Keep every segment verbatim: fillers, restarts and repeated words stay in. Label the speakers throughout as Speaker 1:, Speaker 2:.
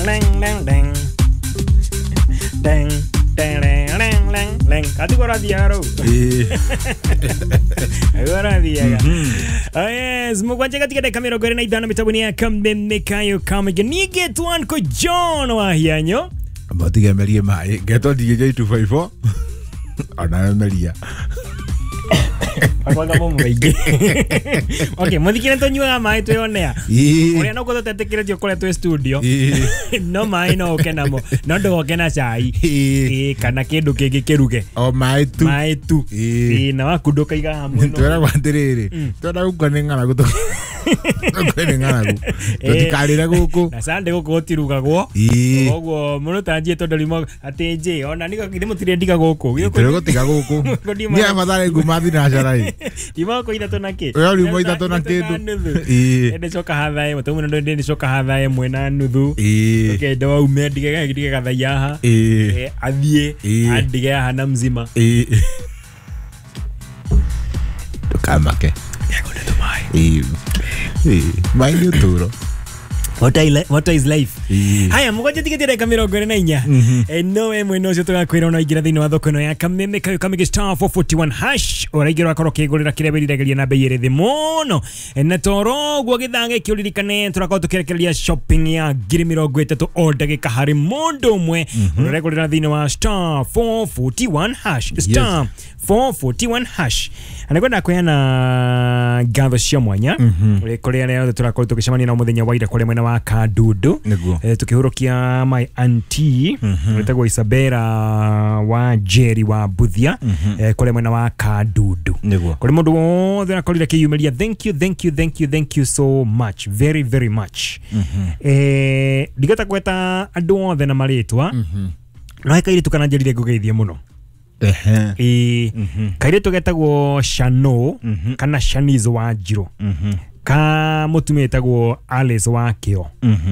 Speaker 1: deng deng deng deng deng deng deng katigora diaro agora diaga. Yes, mugwanja katika dakika mirongo ĩrĩ na ithano mitambo ya Kameme Kayo Kamege nige twanko John Wahianyo
Speaker 2: amatiga merie mai ngetwo D J two five four ona meria
Speaker 1: akwanga mo muingi. Okay, muthikire tonyuaga mai twionea uria no guthutetikire kuria twi studio no mai no uke namo no ndugoke na cai kana kindu kingi kiruge
Speaker 2: o mai tu
Speaker 1: mai tu na waku ndukaiga hamwe no
Speaker 2: twiragwo atiriri twenda gukua ni ng'aragu tukue ni ng'aragu tutikarire guku
Speaker 1: na Sunday guku gutirugagwo koguo muno tanjie tondu rimo ati nji ona niko githe mutire ndiga guku
Speaker 2: gutiga guku ni abathare nguma thinacara i
Speaker 1: ndima ko ithatu na ki
Speaker 2: we riuma ithatu na kindu
Speaker 1: ii ndicoka hatha imwe tu muno ndicoka hatha imwe na nuthu ukenda waume ndige ndige gathaiya haha athie andige haha na mzima
Speaker 2: ii ndukamake ii ii mai ni uturo.
Speaker 1: What I what is life. Haya mugwanja tigiti dakika mirongo ĩrĩ na inya. Eh no we mwena ucio tugakwira ona ingira thiini wa thoko ino ya Kameme Kayo Kamege star four forty-one hash uraingira wakorwo ukigurira kiria wirirageria na bei iri thi muno na toro uguo githaa giki uririkane turakorwo tukirekereria shopping ya ngiri mirongo itatu o ndagika hari mundu umwe uregurira thiini wa star four forty-one hash star four forty-one hash. Anakwenda kuheana ngatho cia mwanya kuria aria othe turakorwo tugicemania nao muthenya wa ira kuria mwena wa Kadudu eh, tukihurukia my auntie wetagwo Isabella wa Jerry wa Buthia eh, kuria mwena wa Kadudu kuri mundu wothe rakorire kiyumiria thank you thank you thank you thank you so much very very much. Eh ndigata gweta andu othe na maritwa no he kairitu kana njerire ngugeithie muno. Ehe. Eh kairitu getagwo Shano kana Shanizo wa Njiro ka mutumia etagwo Alice wa Kio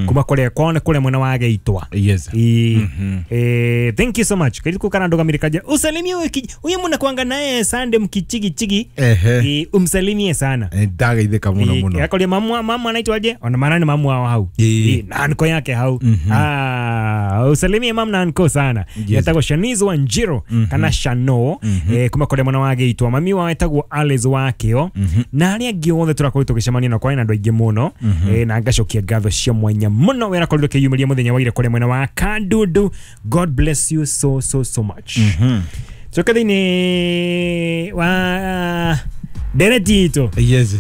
Speaker 1: kuma kuria kwao kuria mwena wa Geitwa.
Speaker 2: Yes.
Speaker 1: Eh thank you so much kairitu kana ndugamire kaja usalimie huyu mnakuanga naye Sunday mkichigi chigi eh umsalimie sana
Speaker 2: ndageithika muno muno
Speaker 1: yakoria mamu mamu anaitwa aje ona maana ni mamu wao hau eh na anko yake hau ah usalimie mamu na anko sana etagwo Shanizo wa Njiro kana Shano eh kuma kuria mwena wa Geitwa mami wao etagwo Alice wa Kio na aria angi othe turakorwo tugicemania na kwa na andu aingi muno eh na ngacokia ngatho cia mwanya muno wera korirwo kiyumiria muthenya wa ira kuria mwena wa Kadudu. God bless you so so so much. Coka thiini wa ndereti itu.
Speaker 2: Yes.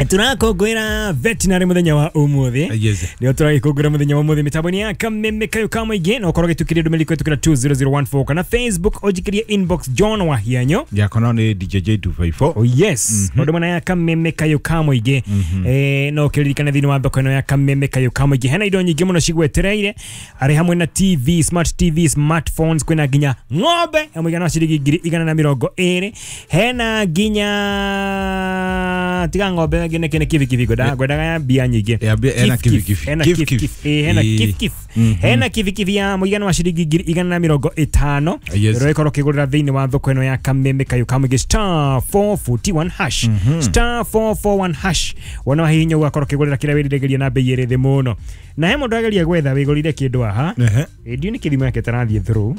Speaker 1: Turakongwira veterinary muthenya wa umuthi.
Speaker 2: Yes.
Speaker 1: Nio turagikongwira muthenya wa umuthi mitambo-ini ya Kameme Kayo Kamũingĩ na ukorwo gitukiria ndumĩrĩri kũhetũkĩra two zero zero one four kana Facebook ũnjikĩrie inbox John Wahianyo
Speaker 2: yakona ni D J J two five four.
Speaker 1: Oh yes. Maũndũ mana ya Kameme Kayo Kamũingĩ eh no ũkĩririkane thĩinĩ wa thoko ĩno ya Kameme Kayo Kamũingĩ hena indo nyingĩ mũno cigwetereire arĩ hamwe na T V, smart T V, smartphones, kwĩna nginya ng'ombe ya mũigana wa ciringi ngiri igana na mĩrongo ĩrĩ, hena nginya tiga ng'ombe ngine kine kivi kivi goda gwedaga ya mbia nyingi
Speaker 2: ena kivi kivi
Speaker 1: ena kivi kivi ena kivi kivi ena kivi kivi ya mũigana wa ciringi ngiri igana na mĩrongo ĩtano ĩrokorwo kĩgũrĩra thĩinĩ wa thoko ĩno ya Kameme Kayo Kamũingĩ star four forty-one hash star four four one hash wona wahihinya ũgakorwo kĩgũrĩra kĩrĩa wĩriragĩria na bei ĩrĩ thĩ mũno na he mũndũ ageria gwetha wĩgũrire kĩndũ haha ndiũ nĩ kĩthimo yake tarathiĩ through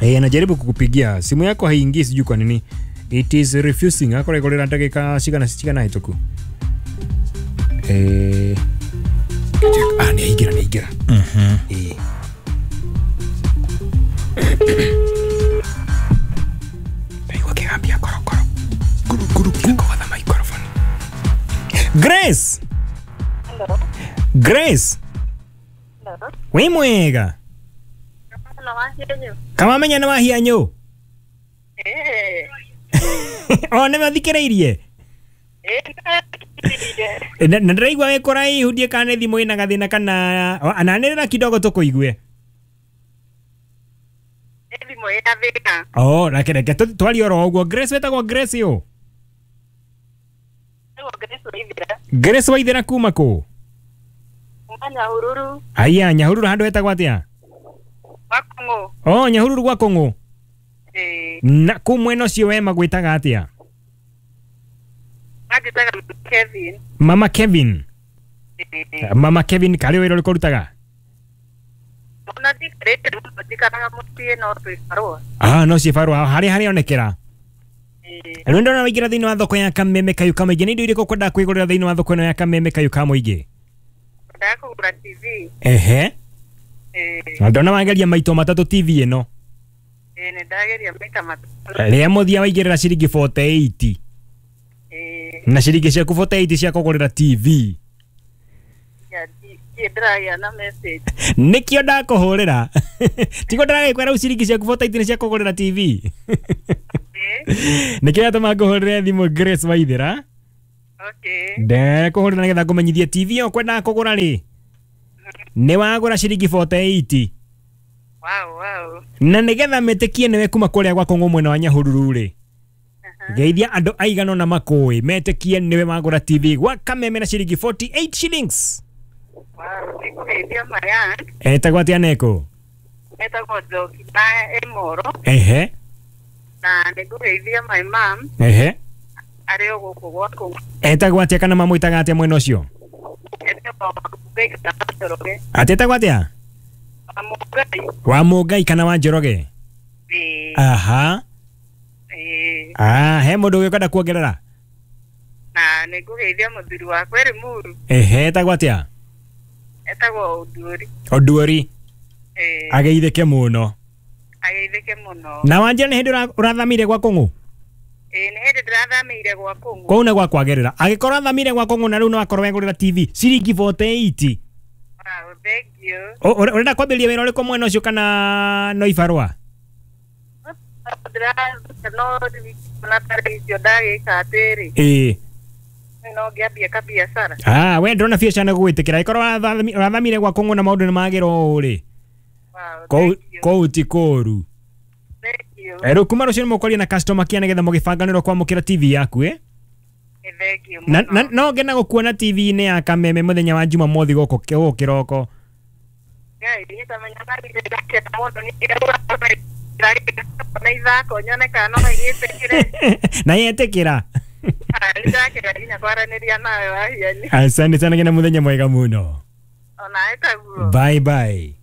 Speaker 1: eh anajaribu kukupigia simu yako haingii sijui kwa nini it is refusing akore gorera ndagika cigana cigana hituku eh ah ni aigira ni aigira
Speaker 2: mhm
Speaker 1: eh ndaigua kigambia korokoro
Speaker 2: kuru kuru
Speaker 1: kuru kwa microphone. Grace.
Speaker 3: Hello.
Speaker 1: Grace.
Speaker 3: Hello.
Speaker 1: Wi mwega. Kama menya na Wahianyo.
Speaker 3: Eh.
Speaker 1: O nĩ mathikĩrĩirie na ndĩraigua wĩ kũraihu ndiĩ kana nĩ thimũ ĩna gathĩna kana ananĩrĩra kidogo tũkũigue.
Speaker 3: Thimũ ĩna thĩna.
Speaker 1: Oh, reke reke twarie oro ũguo. Grace wetagwo Grace ũ? Grace Waithera kuma kũ?
Speaker 3: Kuma Nyahururu.
Speaker 1: Aya, Nyahururu handũ hetagwo atĩa?
Speaker 3: Gwa Kũng'ũ.
Speaker 1: Oh, Nyahururu gwa Kũng'ũ. Na kũ mwena ũcio we magwĩtaga atĩa?
Speaker 3: Anjĩtaga Kevin.
Speaker 1: Mama Kevin. Mama Kevin karĩ wĩra ũrĩkũ ũrutaga?
Speaker 3: Ona ndikarĩte mũno njikaraga mũciĩ no twĩ barũa.
Speaker 1: Ah, no ciĩ barũa harĩa harĩa onekera.
Speaker 3: Ĩĩ.
Speaker 1: Rĩu ndona waingĩra thĩinĩ wa thoko ya Kameme Kayũ ka Mũingĩ. Nĩ indo irĩkũ ũkwendaga kwĩgũrĩra thĩinĩ wa thoko ĩno ya Kameme Kayũ ka Mũingĩ?
Speaker 3: Ndakũgũra T V.
Speaker 1: Ehe.
Speaker 3: Ĩĩ.
Speaker 1: Na ndona wageria maito matatũ T V ĩno.
Speaker 3: Ĩĩ, nĩ ndageria maita matatũ.
Speaker 1: Rĩa mũthia waigĩrĩra ciringi forty eight.
Speaker 3: Ĩĩ.
Speaker 1: Na ciringi ciaku forty eight cia kũgũrĩra T V.
Speaker 3: Ya, ndiĩ ndĩragĩa na message.
Speaker 1: Nĩkĩo ndakũhũrĩra. Tiguo ndĩragĩkwĩra rĩu ciringi ciaku forty eight nĩ cia kũgũrĩra T V.
Speaker 3: Ĩĩ.
Speaker 1: Nĩkĩo yatũma ngũhũrĩre thimũ Grace Waithera.
Speaker 3: Okay.
Speaker 1: Ndekũhũrĩra nĩgetha ngũmenyithie T V ĩyo ũkwendaga kũgũra rĩ. Nĩ wagũra ciringi forty eight.
Speaker 3: Wow, wow.
Speaker 1: Na nĩgetha metĩkie nĩwe kuma kũrĩa gwa Kũng'ũ mwena wa Nyahururu rĩ. Geithia andũ aigana ũna makũĩ metĩkie nĩwe wagũra T V gwa Kameme na ciringi forty eight shillings.
Speaker 3: Wow, nĩngũgeithia maya.
Speaker 1: Etagwo atĩa Neko?
Speaker 3: Etagwo Njoki na Emoro.
Speaker 1: Ehe.
Speaker 3: Na nĩngũgeithia my mom.
Speaker 1: Ehe.
Speaker 3: Arĩ o gũkũ gwa Kũng'ũ.
Speaker 1: Etagwo atĩa kana mamwĩtaga atĩa mwena ũcio?
Speaker 3: Etagwo Mũngai kana Njoroge.
Speaker 1: Atĩ etagwo atĩa?
Speaker 3: Wa Mũngai.
Speaker 1: Wa Mũngai kana wa Njoroge?
Speaker 3: Ĩĩ.
Speaker 1: Aha.
Speaker 3: Ĩĩ.
Speaker 1: Ah, he mũndũ ũngĩ ũkwenda kuongerera?
Speaker 3: Na nĩngũgeithia mũthuri wakwa ĩrĩ Muru.
Speaker 1: Ehe, etagwo atĩa?
Speaker 3: Etagwo Oduori.
Speaker 1: Oduori.
Speaker 3: Ĩĩ.
Speaker 1: Ageithĩke mũno.
Speaker 3: Ageithĩke mũno.
Speaker 1: Na wanjĩra nĩ hĩndĩ ũrathamire gwa Kũng'ũ?
Speaker 3: Ĩĩ, nĩ hĩndĩ ndĩrathamĩire gwa Kũng'ũ.
Speaker 1: Kũu nĩ gwa kwagĩrĩra. Angĩkorwo athamire gwa Kũng'ũ na rĩu no akorwo egũrĩra T V ciringi forty eight.
Speaker 3: Wow, thank you.
Speaker 1: Ũrenda kwambĩrĩria wĩra ũrĩkũ mwena ũcio kana no ibarũa?
Speaker 3: No na tarĩ icio ndagĩka atĩrĩ.
Speaker 1: Ĩĩ.
Speaker 3: No ngĩambie kabiacara.
Speaker 1: Ah, we ndĩrona biacara nĩ gũgwĩtĩkĩra. Angĩkorwo ũrathamire gwa Kũng'ũ na maũndũ nĩ magĩra ũũ rĩ.
Speaker 3: Wow,
Speaker 1: Kũu ti kũũru.
Speaker 3: Thank you.
Speaker 1: Rĩu kuma rũciũ nĩ mũkwaria na customer care nĩgetha mũgĩbanganĩrwo kwamũkĩra T V yaku ĩ?
Speaker 3: Thank you
Speaker 1: Na
Speaker 3: mũno.
Speaker 1: no ngena gũkuona T V-inĩ ya Kameme mũthenya wa Jumamothi gũkũ gũkũ kĩroko.
Speaker 3: Ngai, niĩ tamenya ndakena mũno nĩ na ithako nyone kana no ĩgĩtĩkĩre.
Speaker 1: Na yetĩkĩra.
Speaker 3: Nĩ ndakena nginya kwaranĩria nawe Wahiani.
Speaker 1: Asante sana ngena mũthenya mwega mũno.
Speaker 3: Onawe taguo.
Speaker 1: Bye bye.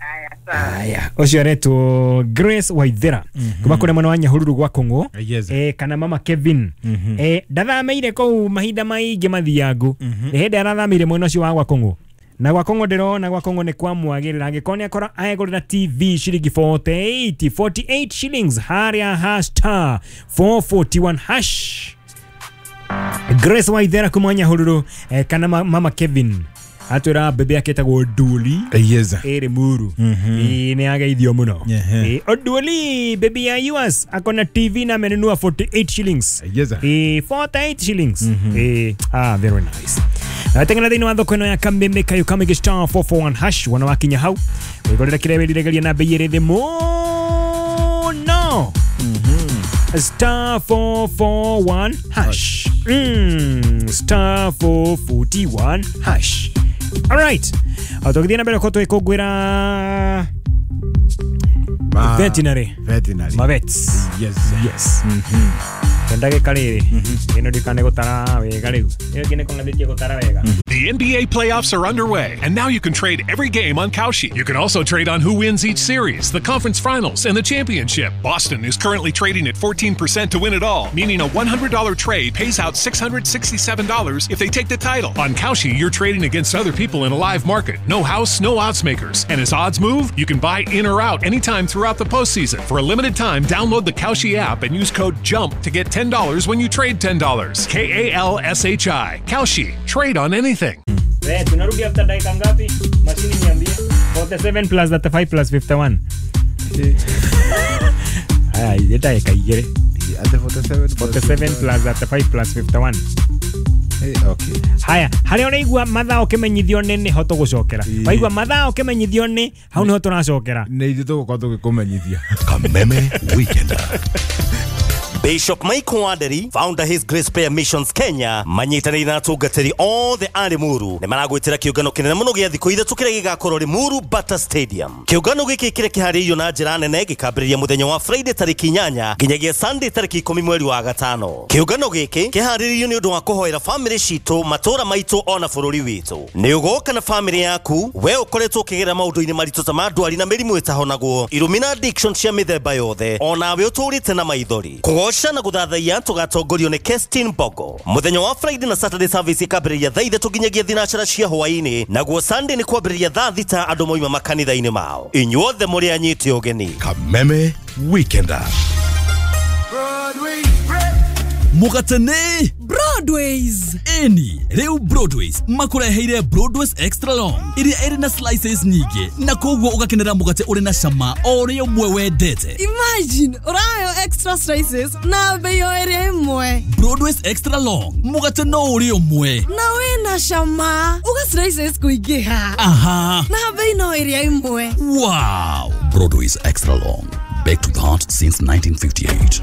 Speaker 3: Aya, sawa.
Speaker 1: Aya, ũcio aretwo Grace Waithera kuma kũrĩa mwena wa Nyahururu gwa Kũng'ũ.
Speaker 2: Yes.
Speaker 1: Eh, kana mama Kevin. Eh, ndathamĩire kũu mahinda maingĩ mathiangu. Nĩ hĩndĩ arathamĩire mwena ũcio wa gwa Kũng'ũ. Na gwa Kũng'ũ ndĩrona gwa Kũng'ũ nĩ kwamwagĩrĩra. Angĩkorwo nĩ akora aegũrĩra T V ciringi forty eight, forty eight shillings harĩa ha star four forty one hash. Grace Waithera kuma Nyahururu eh, kana mama Kevin atwĩra bebe yake etagwo Nduli.
Speaker 2: Yes.
Speaker 1: Ĩrĩ Muru. Ĩĩ, nĩ ageithio mũno.
Speaker 2: Ehe.
Speaker 1: Ĩĩ, Oduoli baby ya yours akona T V na amenunua forty eight shillings.
Speaker 2: Yes.
Speaker 1: Ĩĩ, forty eight shillings. Ĩĩ, ah, very nice. Tengena thĩinĩ wa thoko ĩno ya Kameme Kayũ ka Mũingĩ star four four one hash wona wakinya hau wĩgũrĩre kĩrĩa wĩriragĩria na bei ĩrĩ thĩ mũno. Star four four one hash. Mm, star four forty one hash. All right. Tũgĩthiĩ na mbere gũkorwo tũgĩkũngũĩra veterinary.
Speaker 2: Veterinary.
Speaker 1: Mavets.
Speaker 2: Yes.
Speaker 1: Yes. Ndagĩka rĩrĩ ĩno ndikane gũtara wega rĩu. Ĩyo ĩngĩ nĩ kũng'athĩtie gũtara wega.
Speaker 4: The N B A playoffs are underway, and now you can trade every game on Kalshi. You can also trade on who wins each series, the conference finals, and the championship. Boston is currently trading at fourteen percent to win it all, meaning a one hundred dollar trade pays out six hundred sixty-seven dollars if they take the title. On Kalshi, you're trading against other people in a live market. No house, no odds makers. And as odds move, you can buy in or out anytime throughout the postseason. For a limited time, download the Kalshi app and use code JUMP to get ten dollars when you trade ten dollars. K A L S H I. Kalshi. Trade on anything.
Speaker 1: Eh, tunarudi after dakika ngapi? Mashini niambie. forty-seven plus thirty-five plus fifty-one. Haya, ile dakika igere.
Speaker 2: Ate forty-seven
Speaker 1: forty-seven plus thirty-five plus fifty-one.
Speaker 2: Eh, okay.
Speaker 1: Haya, harĩa ũraigua mathaa ũkĩmenyithio nĩ nĩho tũgũcokera. Waigua mathaa ũkĩmenyithio nĩ hau nĩho tũracokera.
Speaker 2: Nĩ ithuĩ tũgũkorwo tũgĩkũmenyithia.
Speaker 5: Kameme Weekender. Bishop Michael Wanderi, founder His Grace Prayer Missions Kenya, manyitanĩire na atungatĩri othe a Limuru nĩ maragwĩtĩra kĩũngano kĩnene mũno gĩa thikũ ithatũ kĩrĩa gĩgakorwo Limuru Bata Stadium. Kĩũngano gĩkĩ kĩrĩa kĩharĩirio na njĩra nene gĩkambĩrĩria mũthenya wa Friday tarĩki inyanya nginyagia Sunday tarĩki ikũmi mweri wa gatano. Kĩũngano gĩkĩ kĩharĩrĩirio nĩ ũndũ wa kũhoera famĩlĩ citũ, matũũra maitũ ona bũrũri witũ. Nĩ ũgoka na famĩlĩ yaku, we ũkoretwo ũkĩgerera maũndũ-inĩ maritũ ta ma ndwari na mĩrimũ ĩtahonagwo, irumi na addiction cia mĩthemba yothe, onawe ũtũrĩte na maithori. Kũgoca na gũthathaiya tũgatongorio nĩ Kestin Bogo. Mũthenya wa Friday na Saturday service ĩkambĩrĩria thaa ithatũ nginyagia thinacara cia hwaĩ-inĩ, naguo Sunday nĩ kwambĩrĩria thaa thita andũ moima makanitha-inĩ mao. Inyuothe mũrĩ anyite ũgeni.
Speaker 6: Kameme Weekender.
Speaker 7: Mũgatene
Speaker 8: Broadways.
Speaker 7: Eni rĩu Broadways makũreheire Broadways Extra Long ĩrĩa ĩrĩ na slices nyingĩ na koguo ũgakenera mũgate ũrĩ na cama o ũrĩa ũmwe wendete.
Speaker 8: Imagine ũrayo extra slices na bei o ĩrĩa ĩmwe.
Speaker 7: Broadways Extra Long mũgate no ũrĩa ũmwe
Speaker 8: na wĩna cama uga slices kũingĩha.
Speaker 7: Aha.
Speaker 8: Na bei no ĩrĩa ĩmwe.
Speaker 7: Wow. Broadways Extra Long, baked with heart since nineteen fifty-eight.